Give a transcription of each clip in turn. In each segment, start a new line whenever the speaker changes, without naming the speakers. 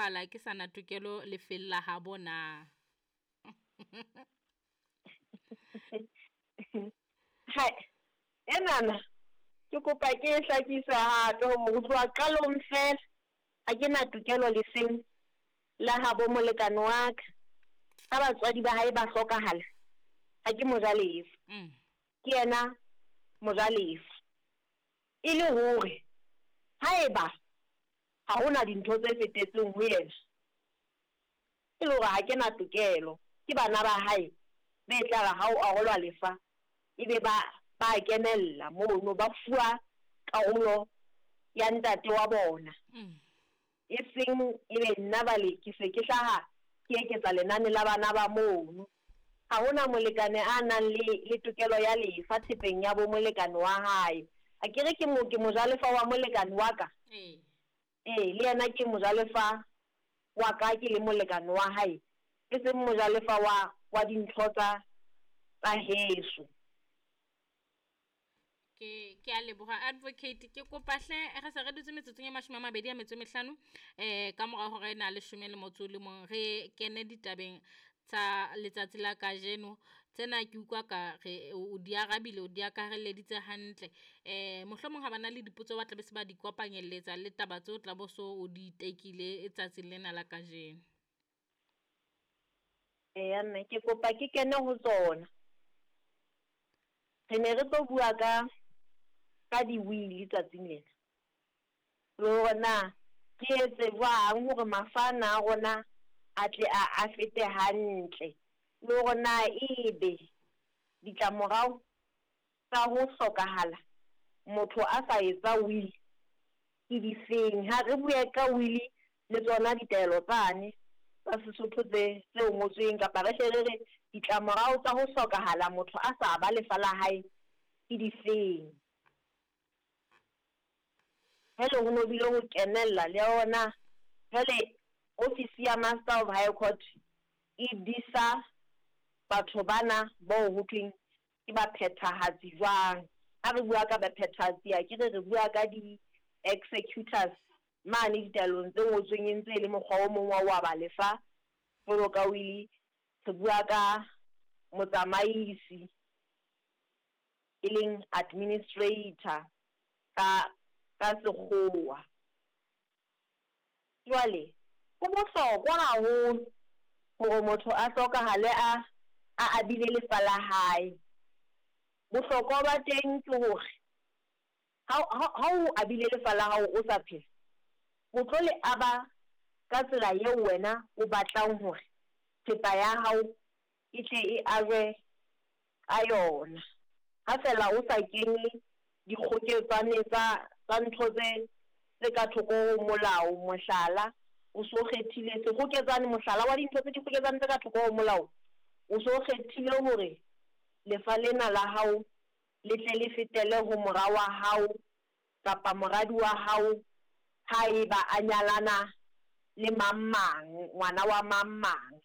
hlokahala ke sa na tokelo lefeng la habo na?
Hai, enana ke kopa ke e hlakise hape hore ho tloha qalong feela ha ke na tokelo lefeng la habo molekane wa ka. Ha batswadi ba hae ba hlokahala, ha ke mojalefa. Ke yena mojalefa. E le hore haeba ha hona dintho tse fetetseng ho yena, e le hore ha ke na tokelo, ke bana ba hae be tla re ha o arolwa lefa ebe ba ba kenella mono, ba fuwa karolo ya ntate wa bona. E seng ebe nna bale ke se ke hlaha ke eketsa lenane la bana ba mono. Ha hona molekane a nang le le tokelo ya lefa thepeng ya bo molekane wa hae. Akere ke mo ke mojalefa wa molekane wa ka?
Ee.
Ee, le yena ke mojalefa wa ka ke le molekane wa hae, e seng mojalefa wa wa dintho tsa tsa heso.
Ke ke a leboha advocate, ke kopa hle re se re dutse metsotsong e 25 ka mora hora ena 11 re kene ditabeng tsa letsatsi la kajeno. Tsena ke utlwa ka re o di arabile, o di akarelleditse hantle. Mohlomong ha ba na le dipotso ba tla be se ba di kopanyelletsa le taba tseo tla bo so o di tekile tsatsing lena la kajeno.
Eya mme, ke kopa ke kene ho tsona. Re ne re tlo bua ka ka di-will tsatsing lena. Le hore na re etse jwang hore mafa ana a rona a tle a a fete hantle, le hore na ebe ditlamorao tsa ho hlokahala motho a sa etsa will ke difeng. Ha re bue ka will le tsona ditaelo tsane tsa Sesotho tse tse ngotsweng, kapa re hle re re ditlamorao tsa ho hlokahala motho a sa ba lefa la hae ke difeng. Jwale ho no bile ho kenella le yona jwale ofisi ya Master of High Court e disa batho bana bao ho thweng ke baphethahatsi jwang. Ha re bua ka baphethahatsi akere re bua ka di-executors mane ditaelong tse ngotsweng e ntse e le mokgwa o mong wa ho aba lefa jwalo ka will. Re bua ka motsamaisi e leng administrator ka ka sekgowa. Jwale ho bohlokwa haholo hore motho a hlokahale a a abile lefa la hae. Bohlokwa ba teng ke hore ha ha o abile lefa la hao o sa phela, o tlo le aba ka tsela eo wena o batlang hore thepa ya hao e tle e ajwe ka yona. Ha fela o sa kenye dikgoketsane tsa tsa ntho tse tse ka thoko ho molao, mohlala, o so kgethile sekgoketsane, mohlala wa dintho tse dikgoketsane tse ka thoko ho molao, o so kgethile hore lefa lena la hao le tle le fetele ho mora wa hao kapa moradi wa hao haeba a nyalana le mang mang, ngwana wa mang mang.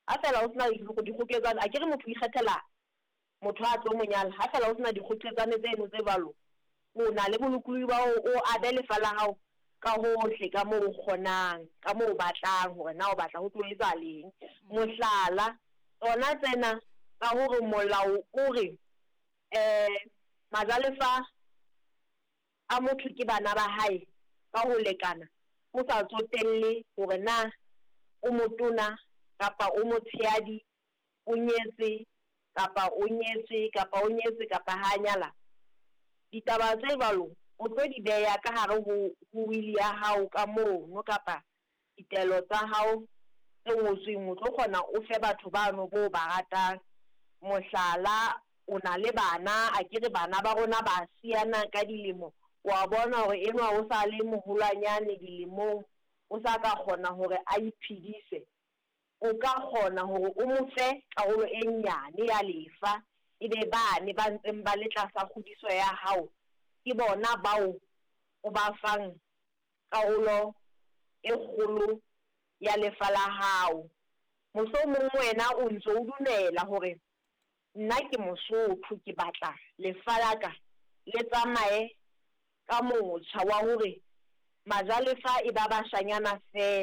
Ha fela o sena dikgoketsane, akere motho o ikgethela motho a tlo mo nyala. Ha fela o sena dikgoketsane tseno tse jwalo, o na le bolokolohi ba hore o abe lefa la hao ka hohle ka moo o kgonang, ka moo o batlang hore na o batla ho tlo etsahaleng. Mohlala, tsona tsena tsa hore molao o re majalefa a motho ke bana ba hae ka ho lekana, ho sa tsotelle hore na o motona kapa o motshehadi, o nyetse kapa o nyetswe kapa o nyetse kapa ha nyala. Ditaba tse jwalo o tlo di beha ka hare ho ho will ya hao ka mono, kapa ditaelo tsa hao tse ngotsweng, o tlo kgona o fe batho bano bo ba ratang. Mohlala, o na le bana, akere bana ba rona ba siyana ka dilemo, wa bona hore enwa o sa le moholwanyane dilemong, o sa ka kgona hore a iphedise, o ka kgona hore o mo fe karolo e nyane ya lefa, ebe bane ba ntseng ba le tlasa kgodiso ya hao ke bona bao o ba fang karolo e kgolo ya lefa la hao. Mohlomong wena o ntso o dumela hore nna ke Mosotho, ke batla lefa la ka le tsamaye ka motjha wa hore majalefa e ba bashanyana feela.